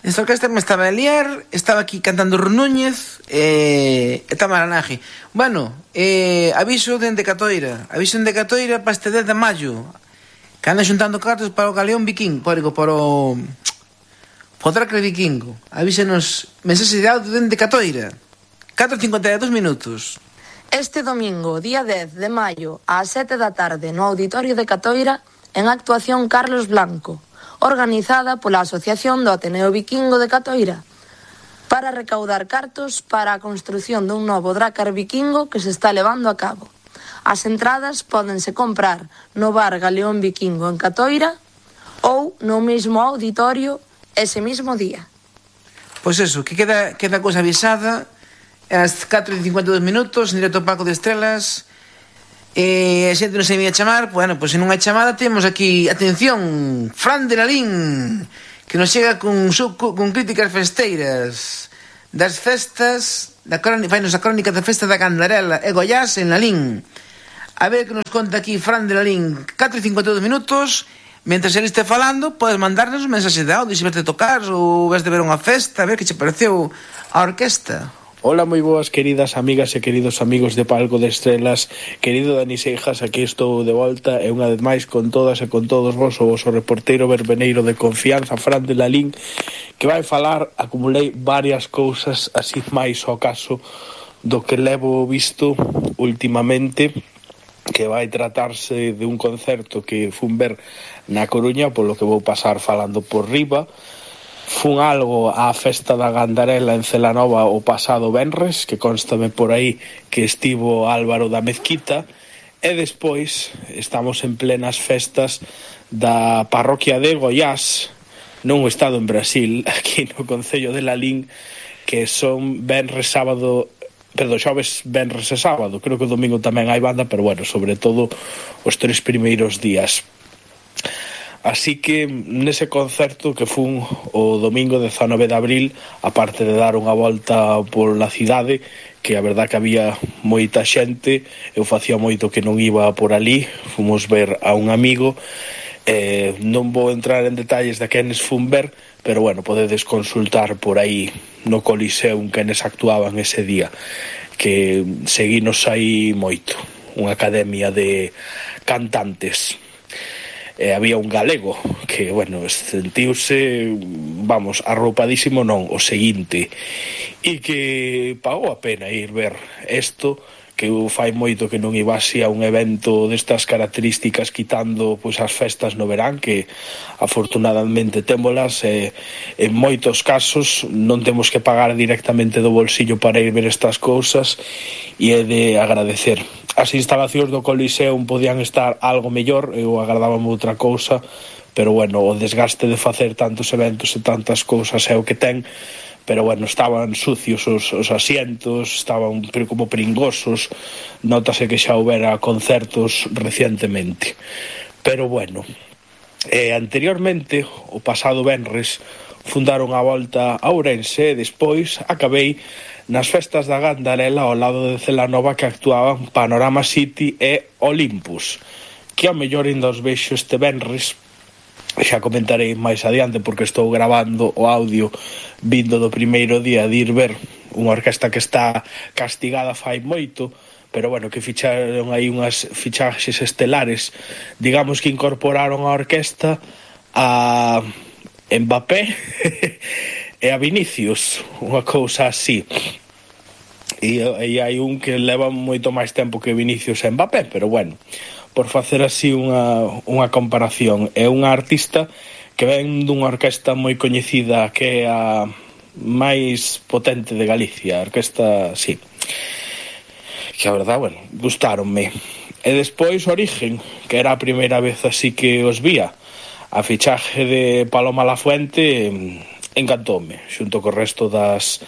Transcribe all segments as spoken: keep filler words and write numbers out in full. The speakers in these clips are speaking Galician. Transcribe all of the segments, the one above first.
Esta orquesta me estaba a liar, estaba aquí cantando Runúñez e eh, Tamaranaje. Bueno, eh, aviso dende Catoira, aviso dende Catoira para este dez de maio, que anda xuntando cartos para o Galeón Viking, por, para o... para o Dracre Vikingo. Avísenos, mensaxe de audio dende Catoira, catro e cincuenta e dous minutos. Este domingo, día dez de maio, ás sete da tarde, no Auditorio de Catoira, en actuación Carlos Blanco, organizada pola Asociación do Ateneo Vikingo de Catoira, para recaudar cartos para a construción dun novo Drácar Vikingo que se está levando a cabo. As entradas pódense comprar no bar Galeón Vikingo en Catoira ou no mesmo auditorio ese mismo día. Pois eso, que queda, queda cousa avisada, ás catro e cincuenta e dous minutos, en directo ao Palco de Estrelas. E a xente non se me ia chamar. Bueno, pois se non hai chamada, temos aquí, atención, Fran de Lalín, que nos chega con, con críticas festeiras das festas da crónica, fainos a crónica da festa da Candarela e Goiás en Lalín. A ver que nos conta aquí Fran de Lalín. Catro e cincuenta e dous minutos. Mentre ele este falando, podes mandarnos un mensaxe de audio se veste tocar ou ves de ver unha festa, a ver que che pareceu a orquesta. Ola, moi boas, queridas amigas e queridos amigos de Palco de Estrelas. Querido Dani Seijas, aquí estou de volta e unha vez máis con todas e con todos vos o vosso reporteiro verbeneiro de confianza, Fran de Lalín, que vai falar. Acumulei varias cousas así máis ao caso do que levo visto últimamente, que vai tratarse de un concerto que fun ver na Coruña, polo que vou pasar falando por riba. Fun algo á festa da Gandarela en Celanova o pasado venres, que constame por aí que estivo Álvaro da Mezquita, e despois estamos en plenas festas da parroquia de Goiás, nun estado en Brasil, aquí no concello de Lalín, que son venres, sábado, perdón, xoves, venres e sábado. Creo que o domingo tamén hai banda, pero bueno, sobre todo os tres primeiros días. Así que nese concerto que fun o domingo dezanove de abril, aparte de dar unha volta pola cidade, que a verdad que había moita xente, eu facía moito que non iba por ali, fomos ver a un amigo, eh, non vou entrar en detalles de quenes fun ver, pero bueno, podedes consultar por aí no Coliseum quenes actuaban ese día, que seguinos aí moito, unha academia de cantantes. E había un galego que, bueno, sentiuse, vamos, arroupadísimo non, o seguinte, e que pagou a pena ir ver isto, que fai moito que non ibase a un evento destas características, quitando pois as festas no verán, que afortunadamente témolas, e en moitos casos non temos que pagar directamente do bolsillo para ir ver estas cousas, e é de agradecer. As instalacións do Coliseum podían estar algo mellor, eu agardábame outra cousa, pero bueno, o desgaste de facer tantos eventos e tantas cousas é o que ten. Pero bueno, estaban sucios os, os asientos, estaban como pringosos, notase que xa houbera concertos recientemente. Pero bueno, eh, anteriormente, o pasado venres, fundaron a volta a Ourense e despois acabei nas festas da Gandarela ao lado de Celanova, que actuaban Panorama City e Olympus, que ao mellor ainda os vexo este venres. Xa comentarei máis adiante porque estou gravando o audio vindo do primeiro día de ir ver unha orquesta que está castigada fai moito, pero bueno, que ficharon aí unhas fichaxes estelares, digamos que incorporaron a orquesta a Mbappé e a Vinicius, unha cousa así. E, e hai un que leva moito máis tempo que Vinicius e Mbappé, pero bueno, por facer así unha, unha comparación, é unha artista que ven dunha orquesta moi coñecida, que é a máis potente de Galicia, a orquesta, sí, que a verdad, bueno, gustáronme. E despois Origen, que era a primeira vez así que os vía, a fichaje de Paloma Lafuente encantoume, xunto co resto das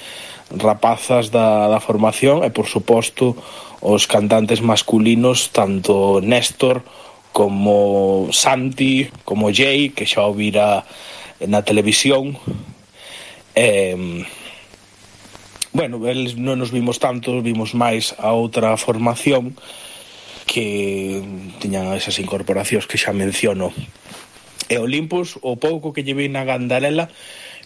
rapazas da, da formación, e por suposto os cantantes masculinos, tanto Néstor como Santi, como Jay, que xa o vira na televisión. Eh, bueno, eles non nos vimos tanto, vimos máis a outra formación que tiñan esas incorporacións que xa menciono. E Olympus, o pouco que lle vi na Gandarela,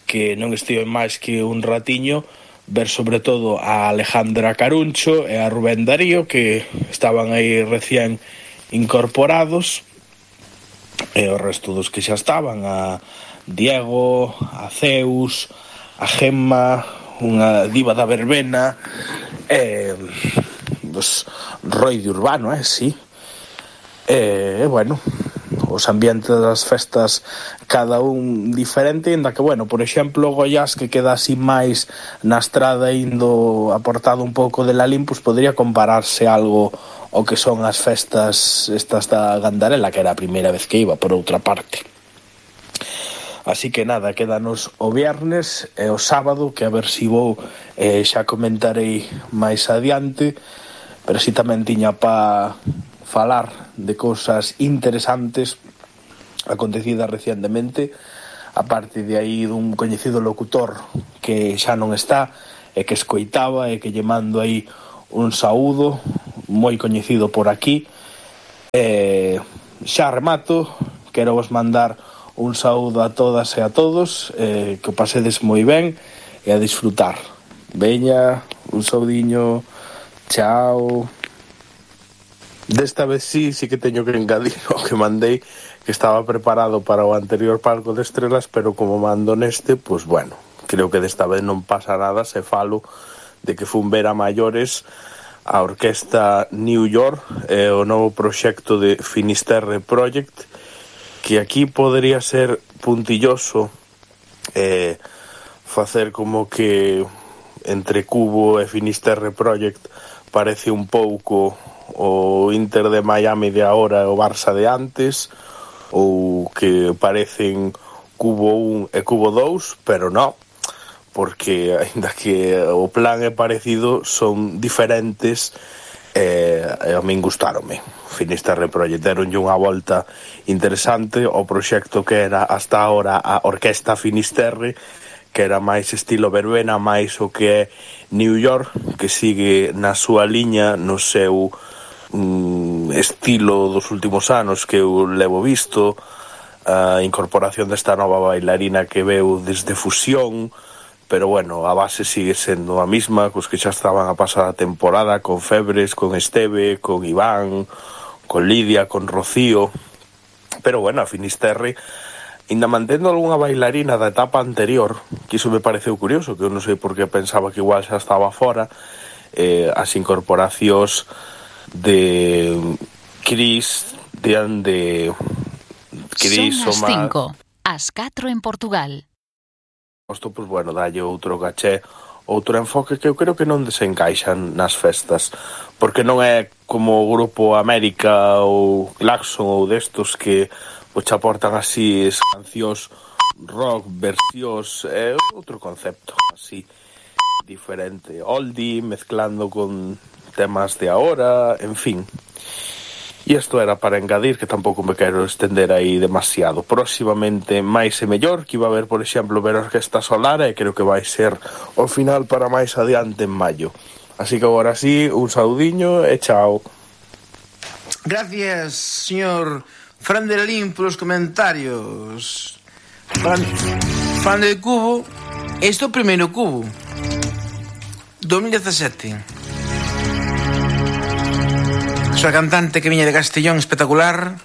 que non estive máis que un ratiño ver sobre todo a Alejandra Caruncho e a Rubén Darío, que estaban aí recién incorporados, e o resto dos que xa estaban, a Diego, a Zeus, a Gemma, unha diva da verbena, e pues, Roi de Urbano, eh, sí. E, bueno, os ambientes das festas cada un diferente, ainda que, bueno, por exemplo, Goiás, que queda así máis na estrada indo aportado un pouco de Lalín, pues podría compararse algo o que son as festas estas da Gandarela, que era a primeira vez que iba, por outra parte. Así que nada, quédanos o viernes e o sábado, que a ver si vou, eh, xa comentarei máis adiante, pero si tamén tiña pa falar de cousas interesantes acontecidas recientemente, aparte de aí dun coñecido locutor que xa non está e que escoitaba e que lle mando aí un saúdo moi coñecido por aquí. E xa remato, quero vos mandar un saúdo a todas e a todos, eh, que o pasedes moi ben e a disfrutar. Veña, un saudiño, chao. Desta vez sí, sí que teño que engadir o que mandei, que estaba preparado para o anterior Palco de Estrelas, pero como mando neste, pues bueno, creo que desta vez non pasa nada se falo de que fun ver a maiores a orquesta New York e o novo proxecto de Finisterre Project, que aquí podría ser puntilloso eh, facer como que entre Cubo e Finisterre Project parece un pouco o Inter de Miami de agora e o Barça de antes, ou que parecen Cubo un e Cubo dous, pero non, porque aínda que o plan é parecido, son diferentes e, e a min gustáronme. Finisterre Project deronlle unha volta interesante ao proxecto que era hasta ahora a Orquesta Finisterre, que era máis estilo verbena, máis o que é New York, que sigue na súa liña, no seu mm, estilo dos últimos anos que eu levo visto, a incorporación desta nova bailarina que veu desde Fusión, pero bueno, a base sigue sendo a mesma, cos que xa estaban a pasar a temporada, con Febres, con Esteve, con Iván, con Lidia, con Rocío, pero bueno, a Finisterre ainda mantendo algunha bailarina da etapa anterior, que iso me pareceu curioso, que eu non sei por que pensaba que igual xa estaba fora, eh, as incorporacións de Cris, de, de Cris, son as cinco, as catro en Portugal. Isto, pois, bueno, dalle outro caché, outro enfoque que eu creo que non desencaixan nas festas, porque non é como o Grupo América ou Claxon ou destos que pois aportan así cancións rock, versións, é outro concepto así diferente, oldie, mezclando con temas de ahora, en fin. E isto era para engadir, que tampouco me quero estender aí demasiado. Próximamente máis e mellor, que iba a haber, por exemplo, ver a Orquesta Solar, e creo que vai ser o final para máis adiante en maio. Así que agora sí, un saudiño e chao. Gracias, señor Fran de Lalín, polos comentarios. Fran, Fran del Cubo. Este é o primeiro Cubo dos mil dezasete. Soa cantante que viña de Castellón, espectacular.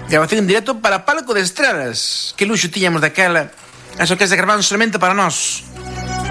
Grabación en directo para Palco de Estrelas. Que luxo tiñamos daquela. As orquestas gravaban solamente para nós.